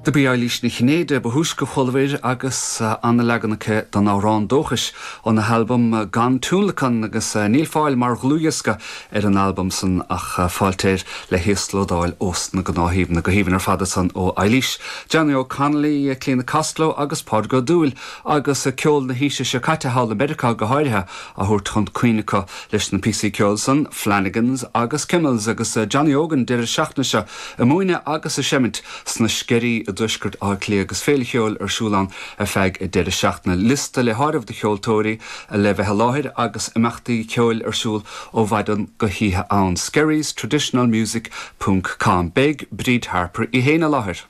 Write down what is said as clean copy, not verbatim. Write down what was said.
Do b'í Eilís Ní Chinnéide ba thúisce a chualabhair agus ana-leagan aici den amhrán dóchais óna halbam Gan Tionlacan agus níl fáil mar dhlúthdhiosca ar an albam san ach fáilte air le híoslódáil ós na gnáthshuíomhanna. Go haoibhinn ar fad ansan ó Eilís. Johnny O'Connolly, Clíona Costello agus Pádraig Ó Dúill agus ceol na haoise seo caite thall i Meiriceá go háirithe á thabhairt chun cuimhne acu leis na píosaí ceoil san, Flanagans agus Kimmels agus Johnny Óg an deireadh seachtaine seo ag múineadh agus ag seimint sna Sceirí i dtuaisceart Átha Cliath agus féile cheoil ar siúl ann ar feadh an deireadh seachtaine. Liosta le háireamh de cheoltóirí le bheith i láthair agus imeachtaí ceoil ar siúl ó mhaidin go hoíche ann. Skerries Traditional Music ponc com. Beidh Bríd Harper í féin i láthair.